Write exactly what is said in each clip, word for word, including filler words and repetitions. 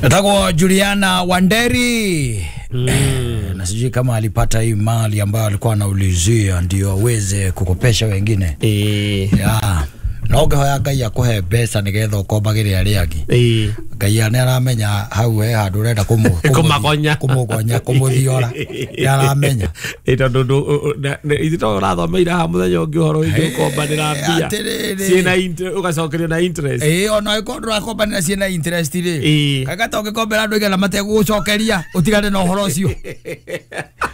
Nataka Juliana Wanderi. Mm. Eh, na sijui kama alipata hii mali ambayo alikuwa anaulizia ndio aweze kukopesha wengine. Eh. Ya. Na ũngĩhoya Ngai akũhe mbeca nĩgetha ũkombagĩre arĩa angĩ. Eh. Ngai nĩ aramenya hau he handũ ũrenda kũmũ kũmagonya kũmũgonya kũmũthiora. Nĩ aramenya. Ĩ tondũ ithuĩ to ũrathomeire haha mũthenya ũngĩ ũhoro wĩgiĩ gũkombanĩra mbia. Ciĩna interest ũgacokerio na interest. Ĩ ona ĩkorwo ndũrakombanĩra ciĩna interest rĩ. Ĩ. Kaga ta ũngĩkombera andũ igana mategũgũcokeria ũtigane na ũhoro ũcio.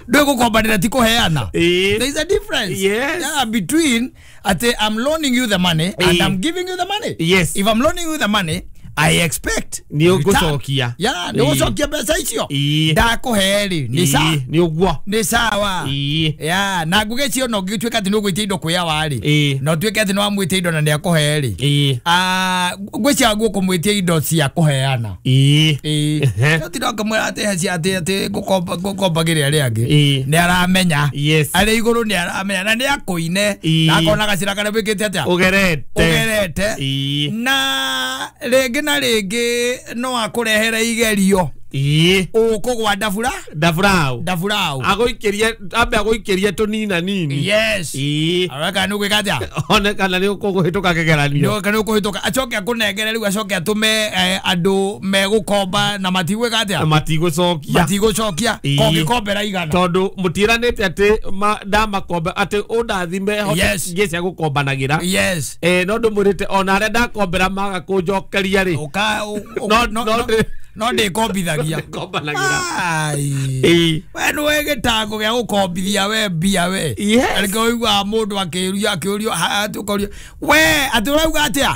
Ndũgũkombanĩra ti kũheana. Ĩ. There is a difference. Yes. Yeah, between ati I'm loaning you the money and Ĩ. I'm giving you the money. Yes. If I'm loaning you the money, I expect Nĩ ũgũcokia. Yeah, nĩ ũgũcokia mbeca icio. Ĩ. Ndakũhe rĩ, nĩ sa Ĩ, nĩ ũguo. nĩ sawa. Ĩ. Yeah, na ngũgĩcio no ngĩtuĩka atĩ nĩ ũgwĩtia indo kwĩ awa rĩ. Ĩ. Na ũtuĩke atĩ nĩ wamwĩtia indo na nĩ akũhe rĩ. Ĩ. Ah, ngwĩciria ngũkũmwĩtia indo cia kũheana. Ĩ. Ĩ. Ehe. No tinda ũkamwĩra atĩ he cia atĩ atĩ ngũkomba ngũkombagĩre arĩa angĩ. Ĩ. Nĩ aramenya. Yes. Arĩ igũrũ nĩ aramenya na nĩ akũine. Ĩ. Na akona gacĩra karĩa wĩkĩte atĩa. Ũgerete. Ũgerete. Ĩ. Na rĩngĩ na rĩngĩ no akũrehere igerio. Ĩ. Ũkũgwa ndabura Ndaburaũ. ndaburaũ. Agũikĩrie ambe agũikĩrie tũnina nini. Yes. Ĩ. Areka nĩ ũgwĩka atĩa? One kana nĩ ũkũhĩtũka kĩgeranio. Nĩ kana ũkũhĩtũka acoke akũnengere rĩu acoke atũme eh, andũ megũkomba na matigwĩka atĩa? Na matigũcokia. Matigũcokia Ĩ. kongĩkombera igana. Tondũ mũtiĩranĩte atĩ ma- ndamakomba atĩ ũndathime hote Yes. ngĩe cia gũkombanagĩra. Yes. Eh, no ndũmwĩrĩte ona arĩa ndakombera maga kũnjokeria rĩ. Ũka ũ- ũ- No- no no no ndĩ- no ndĩkombithagia. Kombanagĩra. Ai. Ĩ. We nĩwe gĩtango gĩa gũkombithia we mbia we. Yes. Nĩkĩo ũiguaga mũndũ akĩũrio akĩũrio ha- atĩ ũkorio we atĩ ũrauga atĩa?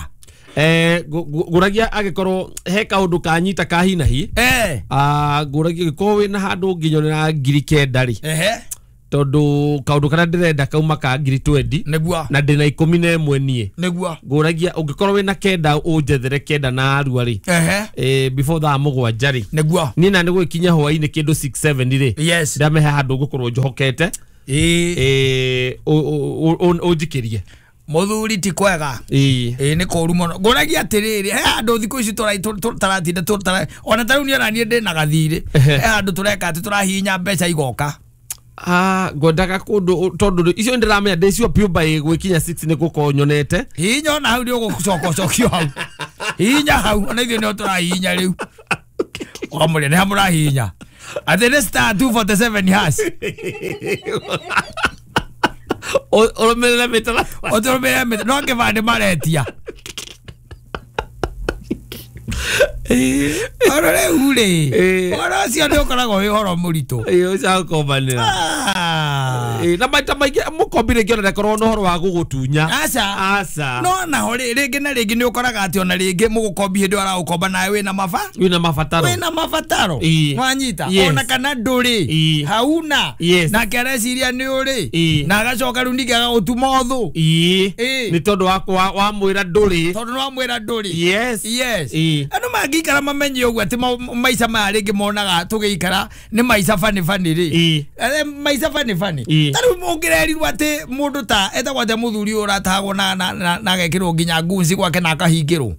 Eh, ngũ- ngũ- ngũragia angĩkorwo he kaũndũ kanyita ka hi na hi. Eh. Ah, ngũragia angĩkorwo wĩna handũ ũngĩnyonera ngiri kenda rĩ. Ehe. Tondũ kaũndũ karĩa ndĩrenda kauma ka ngiri twenty Nĩguo. na ndĩna ikũmi na ĩmwe niĩ. Nĩguo. Ngũragia ũngĩkorwo wĩna kenda ũnjethere kenda na arua rĩ. Ehe. Eh, before thaa mũgwanja rĩ. Nĩguo. Niĩ na nĩ gũgĩkinya hwaĩ-inĩ kĩndũ six seven rĩ. Yes. Ndamehe handũ ngũkorwo njohokete. Ĩ. Eh, ũ- ũ- ũ- ũnjikĩrie. Mũthuri ti kwega. Ĩ. Ĩ nĩ kũru mũno. Ngũragia atĩrĩrĩ, he handũ thikũ ici tũra- tũ- tũ- tũratinda tũ- ona ta rĩu niĩ ona niĩ ndĩna gathirĩ. Ehe. He handũ tũreka atĩ tũrahihinya mbeca igoka. Ah, ngwendaga kũndũ tondũ icio ndĩramenya ndĩcio piũ by gwĩkinya six nĩ gũkorwo nyonete. Hihinya ona hau nĩ ũgũcoka ũcokio hau. Hihinya hau ona ithuĩ nĩho tũrahihinya rĩu. Ũkamũria nĩ ha mũrahihinya. Atĩ nĩ star two forty seven hash. Ũ- Ũrũmĩrĩre mĩtaratara. Ũtũrũmĩrĩre mĩta no kĩbandĩ maretia. Oro rĩu rĩ, Ĩ. ũhoro ũcio nĩ ũkoragwo wĩ ũhoro mũritũ. Ĩ, ũcio wa gũkombanĩra. Ah. Ĩ, na maita maingĩ mũkombi rĩngĩ ona ndakoragwo na ũhoro wa gũgũtunya. Aca. Aca. No naho rĩ rĩngĩ na rĩngĩ nĩ ũkoraga atĩ ona rĩngĩ mũgũkombi hĩndĩ ĩyo aragũkomba nawe wĩna maba Wĩna mabataro. wĩna mabataro. Ĩ. Wanyita Yes. ona kana ndũrĩ Ĩ. hauna Yes. nake areciria nĩ ũrĩ Ĩ. na agacoka rĩu ningĩ agagũtuma ũthũ Ĩ. Ĩ. Nĩ tondũ wa wa- wamwĩra ndũrĩ. tondũ nĩ wamwĩra ndũrĩ. Yes. Yes. Ĩ. Andũ mangĩikara mamenye ũguo atĩ ma- maica maya rĩngĩ monaga tũgĩikara nĩ maica bani bani rĩ. Ĩ. Eh, maica bani bani. Ĩ. Ta rĩu ũngĩrerirwo atĩ mũndũ ta etagwo atĩa mũthuri ũyũ ũratahagwo na na na na agekĩrwo nginya ngunci gwake na akahingĩrwo.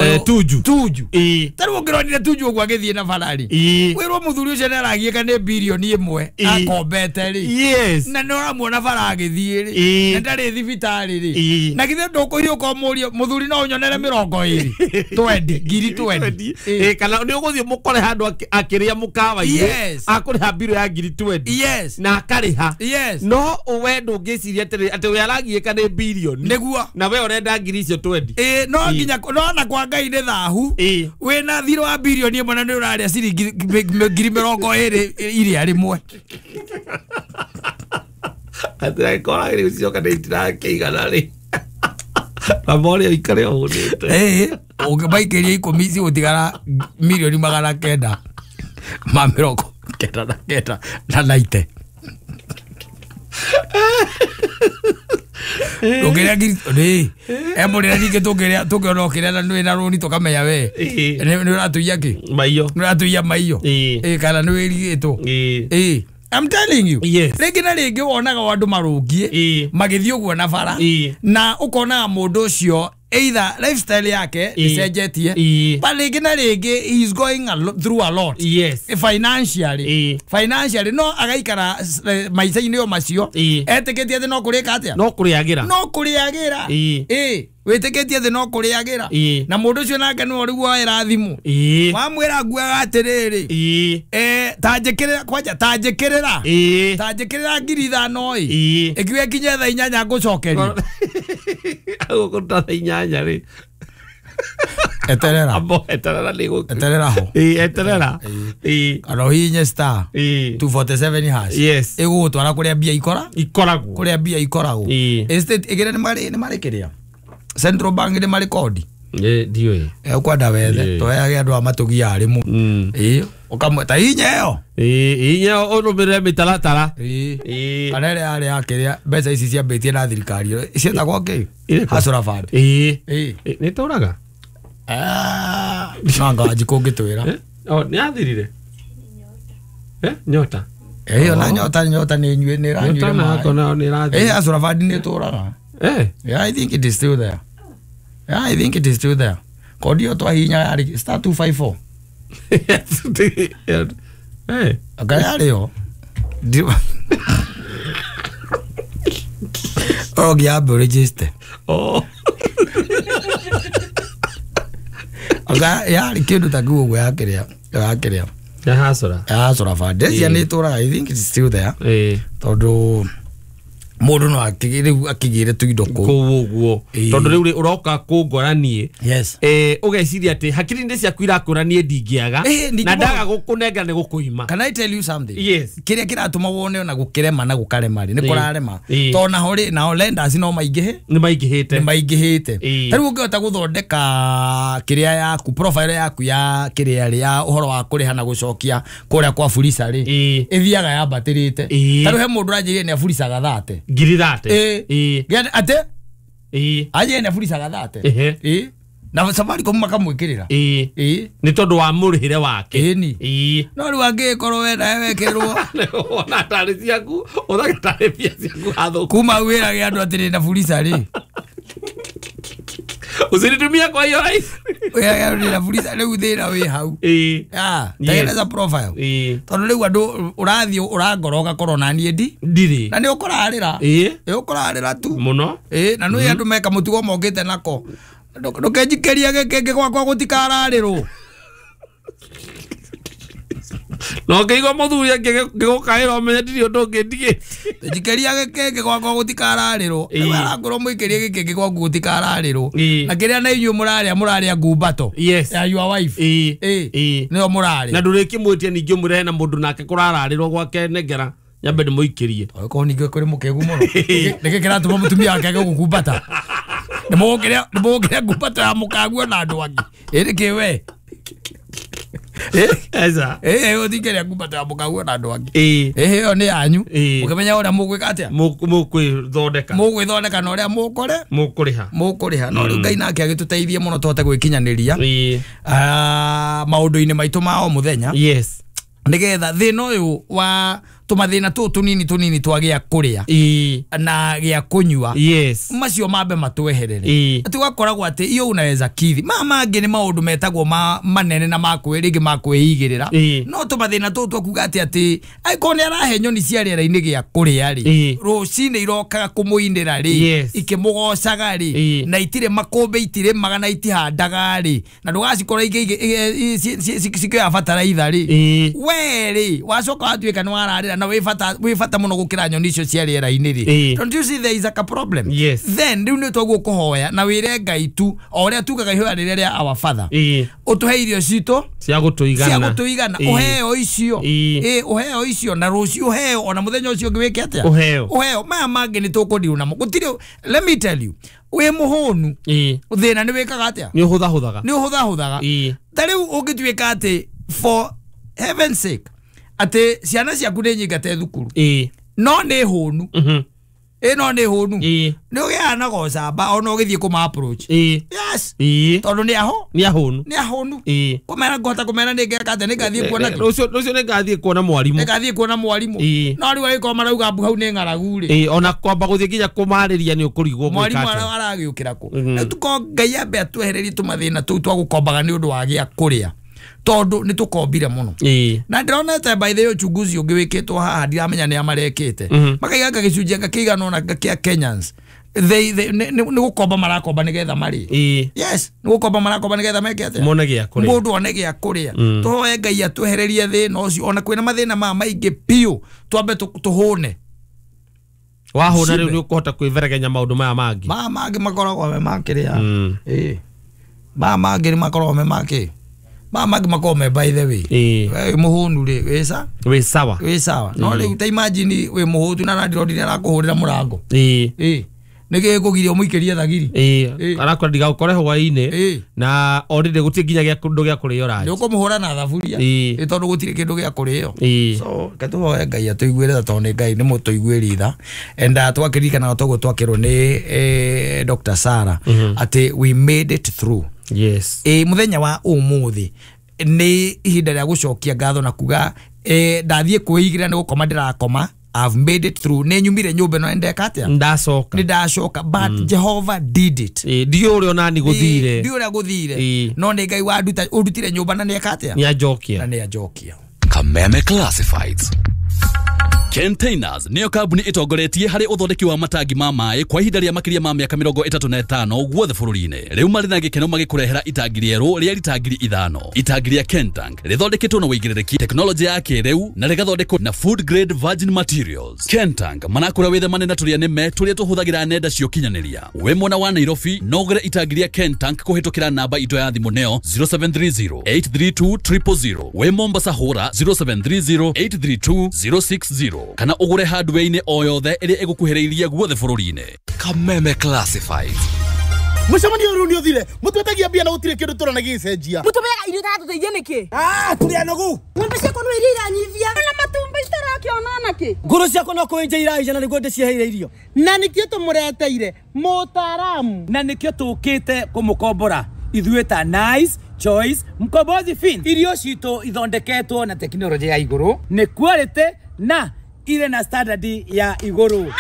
Eh, Tuju. Tuju. Ĩ. Ta rĩu ũngĩronire Tuju ũguo agĩthiĩ na barari. Ĩ. Wĩrwo mũthuri ũcio nĩ aragiĩka nĩ birioni ĩmwe Ĩ. akombete rĩ. Yes. Na nĩ ũramuona bara agĩthiĩ rĩ. Ĩ. Na ndarĩ thibitarĩ rĩ. Ĩ. Na githĩ ndũkũhiũka ũmũrie mũthuri no ũnyonere mĩrongo ĩrĩ. Twendi, ngiri twendi. Ĩ, kana nĩ ũgũthiĩ mũkore handũ akĩ- akĩrĩa mũkawa-inĩ. Yes. Akũrĩha mbirũ ya ngiri twenty. Yes. Na akarĩha. Yes. No we ndũngĩciria atĩrĩ atĩ we aragiĩka nĩ birioni. Nĩguo. Na we ũrenda ngiri icio twenty. Ĩ, no Ĩ. nginya no na kwa Ngai nĩ thahu. Ĩ. Wĩna thirĩ wa birioni ĩmwe na nĩ ũrarĩa ciringi ngiri mĩrongo ĩrĩ iria rĩmwe. Atĩ angĩkorwo rĩu cioka nĩ itirakĩigana rĩ. Na more ũikare ũhũnĩte. Ĩ, ũngĩmaikĩria ikũmi cigũtigara mirioni magana kenda ma mĩrongo kenda na kenda na naite. Tũngĩrĩa ngiri rĩ emũrĩra ningĩ tũngĩrĩa tũngĩona ũkĩrĩa na nĩ na rũni tũkamenya we Ĩ. nĩ nĩ ũratũiya kĩ Maiyo. nĩ ũratũiya maiyo. Ĩ. Ĩ, kana nĩ wĩrigĩtwo. Ĩ. Ĩ. I'm telling you. Yes. Rĩngĩ na rĩngĩ wonaga andũ marũngiĩ Ĩ. magĩthiĩ ũguo na bara Ĩ. na ũkonaga mũndũ ũcio Either lifestyle yake icenjetie but rĩngĩ na rĩngĩ he is going a lo- through a lot. Yes. Financially. Ĩĩ. Financially no agaikara eh, maica-inĩ o macio Ĩĩ. etĩkĩtie atĩ no kũrĩka atĩa No kũrĩagĩra. no kũrĩagĩra. Ĩĩ. Ĩĩ wĩtĩkĩtie atĩ no kũrĩagĩra. Ĩĩ. Na mũndũ ũcio nake nĩwe rĩu woera thimũ. Ĩĩ. Wamwĩra nguaga atĩrĩrĩ Ĩĩ. eh, ta njĩkĩrĩra kwanja ta njĩkĩrĩra Ĩĩ. ta njĩkĩrĩra ngiri ithano ĩ Ĩĩ. ĩkiuga ĩkinye thaa inyanya ngũcokeria. Agũkũruta thaa inyanya rĩ. Eterera. Ambo eterera nĩ gũkũ. Eterera ho. Ĩĩ eterera. Ĩĩ. Kana ũhihinye star Ĩĩ. two forty-seven hash. Yes. Ĩgũgũtwara kũrĩa mbia ikora Ikoragwo. kũrĩa mbia ikoragwo. Ĩĩ. Estate ĩgĩre nĩ marĩ nĩ marĩ kĩrĩa Central Bank nĩ marĩ kodi. Ĩĩ ndiũĩ. Ũkwenda wethe Ĩĩ. tũheage andũ a matũgia arĩmũ. Mm. Ĩĩ ũkamwe ta hinya ĩyo. Ĩĩ inya ũrũmĩrĩre mĩtaratara. Ĩĩ. Ĩĩ. Kana ĩrĩa yarĩ ya kĩrĩa mbeca ici ciambĩtie na thirikari ciĩtagwo kĩ? Ĩrĩkũ? Hustler Fund. Ĩĩ. Ĩĩ. Ĩ, nĩ tũraga? Ah, no anga Wanjikũ ũngĩtwĩra. Eh? Oh, nĩ athirire? Eh, nyota. Ĩyo na nyota nyota nĩ nyue nĩ ĩranyuire Nyota maĩ. nako nao nĩ ĩrathira. Ĩĩ Hustler Fund nĩ ĩtũraga. Eh. Yeah, I think it is still there. Yeah, I think it is still there. Kodi ĩyo twahihinya yarĩ star two five four. Eh. Anga yarĩ yo. Ndi- Ũngĩambe register. Oh. Anga yarĩ kĩndũ ta kĩu ũguo ya kĩrĩa ya kĩrĩa Ya hasora. ya Hustler Fund. Ndeciria nĩ ĩtũraga. I think it is still there. Eh. Tondũ mũndũ no akĩgĩre rĩu akĩgĩre tuindo kũu. Kũu ũguo. Ĩĩ. Tondũ rĩu rĩ ũroka kũngora niĩ. Yes. Eh, ũgeciria atĩ hakiri-inĩ ciaku irakũra niĩ ndingĩaga Ĩĩ, ningĩ na mũno. ndaga gũkũnengera nĩ gũkũima. Can I tell you something? Yes. Kĩrĩa kĩratũma wone ona gũkĩrema na gũkarema rĩ nĩ Ĩĩ. kũrarema. Ĩĩ. Tondũ naho rĩ nao lenders no maingĩhe Nĩ maingĩhĩte. nĩ maingĩhĩte. Ĩĩ. Ta rĩu ũngĩhota gũthondeka kĩrĩa yaku profile yaku ya kĩrĩa rĩ ya ũhoro wa kũrĩha na gũcokia kũrĩa kwa Fuliza rĩ Ĩĩ. ĩthiaga yambatĩrĩte. Ĩĩ. Ta rĩu he mũndũ ũranjĩrire nĩ aburicaga thate. Ngiri thate. Ĩĩ. Ĩĩ. Gĩa- Atĩ Ĩĩ. anjĩrire nĩ aburicaga thate. Ehe. Ĩĩ. Na Safaricom makamwĩkĩrĩra. Ĩĩ. Ĩĩ. Nĩ tondũ wa mũrĩhĩre wake. Ĩni. Ĩĩ. No rĩu angĩgĩkorwo we nawe wekĩrĩrwo Wona tarĩ ciaku, ũthake tarĩ mbia ciaku hathũku. kuma wĩrage andũ atĩrĩ na Fuliza rĩ. Usinitumia kwa hiyo rahisi. Wĩrage andũ na Fuliza rĩu thĩna wĩ hau. Ĩĩ. Ah, Yes. tengeneza profile. Ĩĩ. Tondũ rĩu andũ ũrathiĩ ũrangora ũgakorwo na niĩ ndi Ndirĩ. na nĩ ũkũrarĩra. Ĩĩ. Ĩ ũkũrarĩra tu. Mũno. Ĩ na nĩ andũ meka mũtugo mokĩte nako. Ndũkenjikĩrie gĩkĩngĩ gwakwa gũtikararĩrwo. Na ũngĩigua mũthuri angĩgũkaĩra ũmenye ndirĩ ũndũ ũngĩ ndigĩtie. Njikĩria gĩkĩngĩ gwakwa gũtikararĩrwo. Ĩĩ. Rĩu arakorwo mũikĩrie gĩkĩngĩ gwaku gũtikararĩrwo. Ĩĩ. Na kĩrĩa na inyuĩ mũrarĩa mũrarĩa ngumbato. Yes. Ya your wife. Ĩĩ. Ĩĩ. Ĩĩ. Nĩyo mũrarĩa. Na ndũrĩkĩmwĩtie ningĩ ũmũrehe na mũndũ nake kũrararĩrwo gwake nengera nyambe ndĩmũikĩrie. Okorwo ningĩ kũrĩ mũkĩgu mũno. Nĩkĩ kĩratũma mũtumia wake age gũkumbata? Nĩ mũgũkĩrĩa nĩ mũgũkĩrĩa ngumbato ya mũkaguo na andũ angĩ. Ĩ nĩkĩ we? Ĩ Eza. ĩ ũtingĩrĩa ngumbato ya mũkaguo na andũ angĩ. Ĩĩ. Ĩ ĩyo nĩ yanyu. Ĩĩ. Mũkĩmenya ũrĩa mũgwĩka atĩa? Mũkwĩthondeka. Mũgwĩthondeka na ũrĩa mũkũre Mũkũrĩha. mũkũrĩha. No rĩu Ngai nake agĩtũteithie mũno tũhote gwĩkinyanĩria Ĩĩ. ah, maũndũ-inĩ maitũ ma o mũthenya Yes. nĩgetha thĩna ũyũ wa tũmathĩna tũũ tũnini tũnini twa gĩa kũrĩa Ĩĩ. na gĩa kũnyua Yes. macio mambe matweherere Ĩĩ. atĩ ũgakoragwo atĩ iyo unaweza kithi ma mangĩ nĩ maũndũ metagwo ma manene na makwĩ rĩngĩ makwĩigĩrĩra Ĩĩ. no tũmathĩna tũũ twakuga atĩ atĩ angĩkorwo nĩ arahe nyoni cia rĩera-inĩ gĩa kũrĩa rĩ Ĩĩ. rũcinĩ irokaga kũmũinĩra rĩ Yes. ikĩmũgocaga rĩ Ĩĩ. na itirĩ makũmbĩ itirĩmaga na itihandaga rĩ na ndũgacikora cikĩoya bataraitha rĩ Ĩĩ. we rĩ wacoka watuĩka nĩ wararĩra na wĩ bata wĩ bata mũno gũkĩra nyoni icio cia rĩera-inĩ rĩ Ĩĩ. don't you see there is like a problem? Yes. Then rĩu nĩ twaguo kũhoya na wĩre Ngai tu o ũrĩa tugaga ihoya rĩrĩa rĩa our father Ĩĩ. ũtũhe irio citũ Cia gũtũigana. cia gũtũigana Ĩĩ. ũheo icio Ĩĩ. ĩ ũheo icio na rũciũ ũheo ona mũthenya ũcio ũngĩ wĩke atĩa Ũheo. ũheo maya mangĩ nĩ tũkũndirwo namo gũtirĩ let me tell you wĩ mũhũnu Ĩĩ. thĩna nĩ wĩkaga atĩa Nĩ ũhũthahũthaga. nĩ ũhũthahũthaga Ĩĩ. ta rĩu ũngĩtuĩka atĩ for heaven's sake atĩ ciana ciaku nĩ nyingate thukuru Ĩĩ. no nĩ hũnu Mhm. Ĩno nĩ hũnu. Ĩĩ. Nĩ ũgĩaga na gocamba ona ũgĩthiĩ kũma approach. Ĩĩ. Yes. Ĩĩ. Tondũ nĩ aho. Nĩ ahũnu. Nĩ ahũnu. Ĩĩ. Kũmera ngũhota kũmera nĩ ngeka atĩa nĩ ngathiĩ kuona kĩ? Rũciũ rũciũ nĩ ngathiĩ kuona mwarimũ. Nĩ ngathiĩ kuona mwarimũ. Ĩĩ. No rĩu angĩkorwo marauga mbu hau nĩ ng'aragu rĩ. Ĩĩ, ona kwamba gũthiĩ nginya kũmarĩria nĩ ũkũrigwo gwĩka Mwarimũ atĩa. aragĩũkĩra kũ? Mhm. Rĩu tuko Ngai ambe atwehererie tũmathĩna tũu twa gũkombaga nĩ ũndũ wa gĩa kũrĩa. Tondũ nĩ tũkombire mũno. Ĩĩ. Na ndĩronete by the way uchunguzi ũngĩ wĩkĩtwo haha ndiramenya nĩ a marekĩte. Mhm. Makaiga gĩcunjĩ anga kĩigana ũna kĩa Kenyans. They they nĩ nĩ gũkomba marakomba nĩgetha marĩe. Ĩĩ. Yes, nĩ gũkomba marakomba nĩgetha meke atĩa? Mone gĩa kũrĩa. Mũndũ one gĩa kũrĩa. Tũhoe Ngai atwehererie thĩna ũcio ona kwĩna mathĩna maya maingĩ biũ twambe tũ- tũhũne. Wahũna rĩu Cibe. nĩ ũkũhota kwĩveregenya maũndũ maya mangĩ. Maya mangĩ makoragwo me makĩrĩa. Mm. Ĩĩ. Maya mangĩ nĩ makoragwo me makĩ. Maya mangĩ makoragwo me by the way. Ĩĩ. Wĩ mũhũnu rĩ, wĩ sa? Wĩ sawa. Wĩ sawa. No rĩu ta imagine wĩ mũhũtu na landlord nĩ arakũhũrĩra mũrango. Ĩĩ. Ĩĩ. Nĩkĩ gĩkũgiria ũmũikĩrie thagiri? Ĩĩ. Ĩĩ. Arakora ndigagũkore hwaĩ-inĩ. Ĩĩ. Na already gũtirĩ nginya gĩa kĩndũ gĩa kũrĩo Nĩ ranji. ũkũmũhũra na thaburia. Ĩĩ. Ĩ tondũ gũtirĩ kĩndũ gĩa kũrĩo. Ĩĩ. So reke tũhoe Ngai atũiguĩre tha tondũ nĩ Ngai nĩ mũtũiguĩri tha. And uh, twakĩririkanaga toguo twakĩrwo nĩ eh, Doctor Sarah atĩ we made it through. Yes. Ĩ mũthenya wa ũmũthĩ nĩ ihinda rĩa gũcokia ngatho na kuga eh, ndathiĩ kwĩigĩra nĩ gũkoma ndĩrakoma. I've made it through. Nĩ nyumire nyũmba ĩno ndeka atĩa? Ndacoka. Nĩ ndacoka but Jehovah did it. Ĩĩ, ndiũĩ ũrĩa onani gũthire. Ndiũĩ ũrĩa gũthire. Ĩĩ. No nĩ Ngai wanduta ũndutire nyũmba na nĩeka atĩa? Nĩ anjokia. Na nĩ anjokia. Kameme Classifieds. Containers nĩyo kambuni ĩtongoretie harĩ ũthondeki wa matangi ma maĩ kwa ihinda rĩa makĩria ma mĩaka mĩrongo ĩtatũ na ĩtano guothe bũrũri-inĩ. Rĩu marĩ na gĩkeno magĩkũrehera itangi rĩerũ rĩa rita ngiri ithano. Itangi rĩa Kentank rĩthondeketwo na wĩigĩrĩrĩki tekinoronjĩ ya kĩrĩu na rĩgathondekwo na food grade virgin materials. Kentank marakũra wĩthemane na tũrĩa nĩme tũrĩa tũhũthagĩra nenda cia ũkinyanĩria. Wĩ mwena wa Nairobi no ũgũre itangi rĩa Kentank kũhĩtũkĩra namba itũ ya thimũ nĩyo zero seven three zero eight three two triple zero. Wĩ Mombasa hũra zero seven three zero eight three two zero six zero. Kana ũgũre hardware-inĩ o yothe ĩrĩa ĩgũkuhĩrĩirie guothe bũrũri-inĩ. Kameme Classifieds. Mũcemanio ũyũ nĩ ũthire mũtwetagia mbia na gũtirĩ kĩndũ tũrona gĩgĩcenjia. Mũtũmĩaga irio itaratũteithia nĩkĩ? Ah, tũrĩ anogu. Ng'ombe ciakwa no iria iranyivia. Na matumbĩ citarakĩona nakĩ? Ngũrũ ciakwa no kũenja iraija na nĩguo ndĩciheire irio. Na nĩkĩo tũmũreteire mũtaaramu. Na nĩkĩo tũkĩte kũmũkombora ithuĩ ta Nice Choice Mkombozi Fin. Irio citũ ithondeketwo na tekinoronjĩ ya igũrũ, nĩ quality na irĩ na standard ya igũrũ.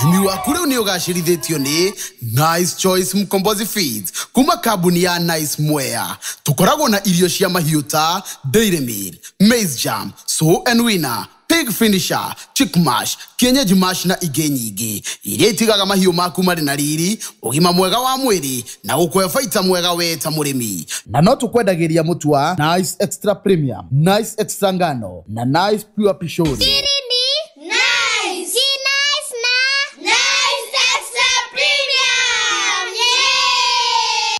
Ũrĩmi waku rĩu nĩ ũgacĩrithĩtio nĩ Nice Choice Mkombozi Feeds kuma kambuni ya Nice Mwea. Tũkoragwo na irio cia mahiũ ta Dairy Meal, Maize Jam, Sow and Winner, Pig Finisher, Chick Mash, Kienyeji Mash na ingĩ nyingĩ iria itigaga mahiũ maku marĩ na riri, ũgima mwega wa mwĩrĩ na gũkũhe baita mwega we ta mũrĩmi. Na no tũkwendagĩria mũtu wa Nice Extra Premium, Nice Extra Ngano na Nice Pure Pishori. Nice. Nice na Nice Extra Premium. Yeah.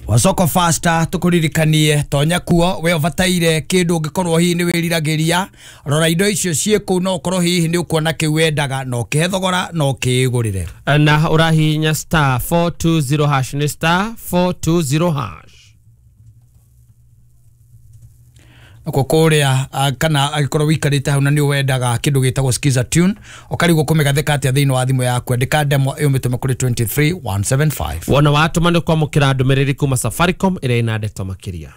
Wasoko Fasta tukuririkanie tonya kuo we ũbataire kĩndũ ũngĩkorwo hihi nĩ wĩriragĩria rora indo icio ciĩ kũu no ũkorwo hihi nĩ ũkuona kĩu wendaga na ũkĩhe thogora na ũkĩĩgũrĩre. Na ũrahihinya star four two zero hash nĩ star four two zero hash. Nakuo kũrĩa kana angĩkorwo wĩikarĩte hau na nĩ wendaga kĩndũ gĩtagwo Skiza Tune ũkarigwo kũmĩgathĩka atĩa thĩinĩ wa thimũ yaku andĩka ndemwa ĩyo mĩtũme kũrĩ two three one seven five. Wona watũma nĩ kwamũkĩra ndũmĩrĩri kuma Safaricom ĩrĩa ĩna ndeto makĩria.